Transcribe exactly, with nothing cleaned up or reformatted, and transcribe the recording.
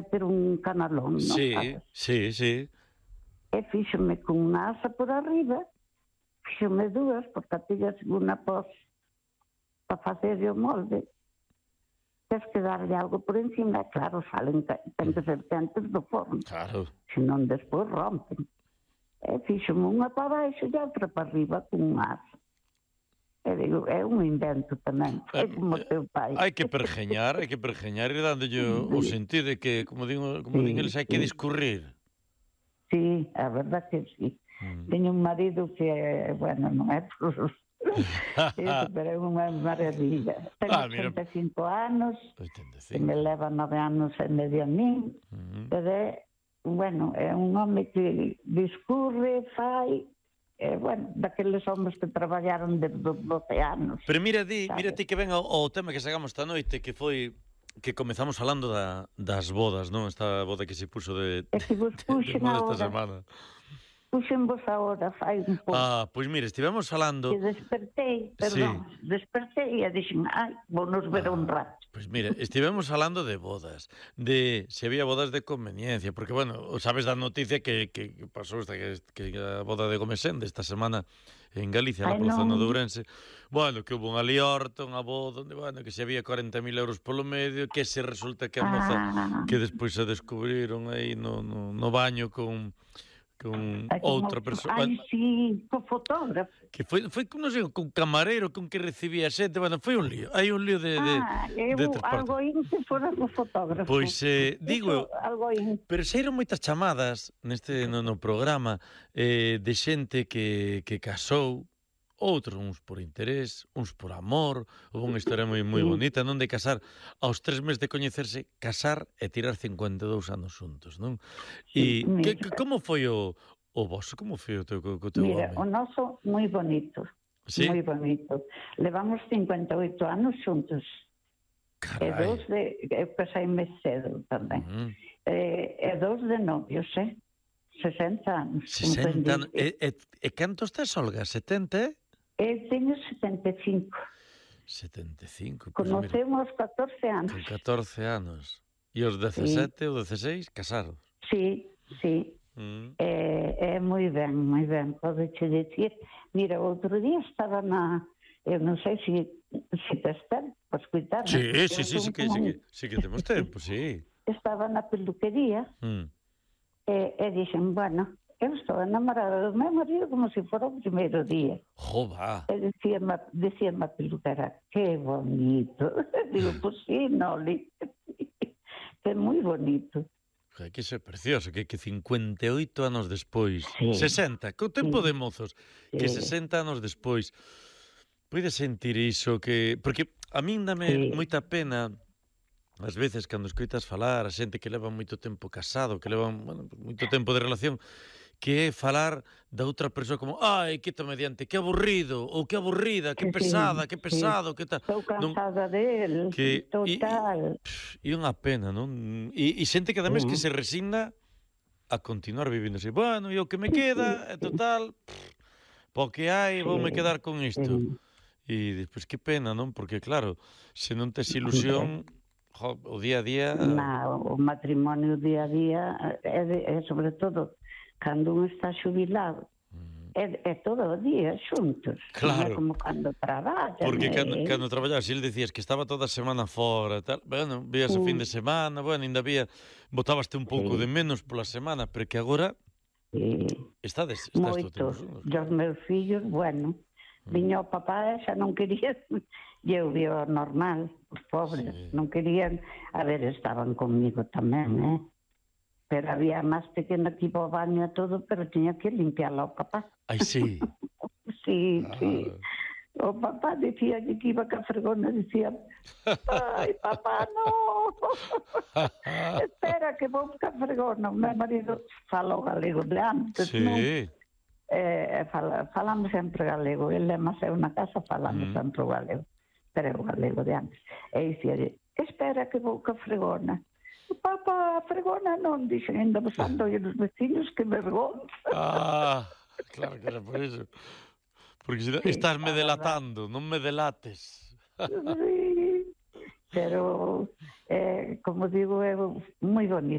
meter un canalón, non Sí, sabes? sí, sí. E fíxome con unha asa por arriba, fíxome dúas, porque a tilla unha pos para facer o molde. Tens que darlle algo por encima, claro, salen, ten que ser quentes do forno. Claro. Senón despois rompen. E fíxome unha para baixo e outra para arriba con unha asa. E digo, é un invento tamén, é como teu pai. Hai que pergeñar, hai que pergeñar e dándolle o sentido de que, como digo, como din eles, hai que discurrir. Sí, a verdad que sí. Mm. Teño un marido que, bueno, non é por eso, pero é unha maravilla. Ten ah, ochenta e cinco anos, ochenta e cinco. Que me leva nove anos e medio a min, mm. pero é, bueno, é un home que discurre, fai, eh, bueno, daqueles homens que traballaron de doce anos. Pero mira ti, mira ti que ven ao, ao tema que sacamos esta noite, que foi que comezamos falando da, das bodas, non? Esta boda que se puxo de, de, de, de moda esta semana. Puxen vos agora, fai un pouco. Ah, pois mira, estivemos falando... Que despertei, perdón, sí. despertei e dixen, ai, vou nos ver ah, un rato. Pois mira, estivemos falando de bodas, de se había bodas de conveniencia, porque, bueno, sabes da noticia que, que, que pasou esta, que, que a boda de Gomesende esta semana en Galicia, na zona de Ourense. Bueno, que hubo unha liorta, unha boda, onde, bueno, que se había cuarenta mil euros polo medio, que se resulta que a moza, ah. que despois se descubriron aí no, no, no baño con... con Ay, outra persoa. Ai, sí, co fotógrafo. Que foi, foi non sei, con camareiro, con que recibía xente, bueno, foi un lío. Hai un lío de de Ah, eu, de algo in que fora co fotógrafo. Pois eh, digo, algo in. Pero saíron moitas chamadas neste no, no programa eh, de xente que que casou, outros uns por interés, uns por amor. Houve unha historia moi moi bonita, non, de casar aos tres meses de coñecerse, casar e tirar cincuenta e dous anos xuntos, non? E que, que, como foi o o vosso? Como foi o teu co teu home? Mira, o noso moi bonito. ¿Sí? Moi bonito. Levamos cincuenta e oito anos xuntos. Carai. E dos de eu casaime cedo tamén. Uh -huh. E, e dos de novios, eh? sesenta anos. sesenta anos. E, e, e cantos tes, Olga? setenta? Eu teño setenta e cinco. setenta e cinco. Pues conocemos mira, catorce anos. Con catorce anos. E os dezasete sí. ou dezaseis casados? Sí, sí. Mm. É, é moi ben, moi ben. Pode che dicir. Mira, outro día estaba na... Eu non sei se si tes tempo para escutar. Sí, sí, sí, sí, que, sí, que, sí que temos tempo, sí. Estaba na peluquería mm. e, e dixen, bueno... Eu estou enamorada do meu marido como se fora o primeiro día. Joba. E decía-me decía a peluquera, que bonito. Digo, pues sí, Noli. Que moi bonito. Que que é precioso, que, que cincuenta e oito anos despois, sí. sesenta, co tempo sí. de mozos, sí. que sesenta anos despois, podes sentir iso que... Porque a min dame sí. moita pena... Ás veces, cando escoitas falar a xente que leva moito tempo casado, que leva bueno, moito tempo de relación, que é falar da outra persoa como ai, que mediante, que aburrido, ou que aburrida, que sí, pesada, que pesado, sí. que tal. Estou cansada non, del, que, total. E unha pena, non? E, e xente que ademais uh -huh. que se resigna a continuar vivindo así. Bueno, e o que me queda, é total, po que hai, voume quedar con isto. Sí. E despois, que pena, non? Porque claro, se non tes ilusión... Jo, o día a día... Na, o matrimonio día a día é, de, é sobre todo cando un está xubilado mm. é, é todo o día xuntos, claro. Non é como cando traballan. Porque eh? cando, cando traballas, si ele decías que estaba toda a semana fora tal, bueno, vías o mm. fin de semana, bueno, ainda había botabaste un pouco sí. de menos pola semana, pero que agora sí. estades, estás moito, todo os meus fillos, bueno, mm. viña o papá e xa non quería... E eu vi o normal, os pobres, sí. non querían... A ver, estaban comigo tamén, eh? Pero había máis pequena que iba ao baño e todo, pero tiña que limpiarla o papá. Ai, sí? sí, ah. sí. O papá dicía que iba ca fregona, dicía, ai, papá, no! Espera que vou ca fregona. O meu marido fala o galego de antes, sí. non? Eh, fala, falamos sempre galego. Ele é máis na casa, falamos mm. sempre o galego. Pero é o galego de antes. E dicía, espera que vou ca fregona. Papá, a fregona non, dixen, ainda besando e os vecinos, que vergonza. Ah, claro que era por iso. Porque si, sí, estás me delatando, non me delates. Sí, pero, eh, como digo, é moi bonito.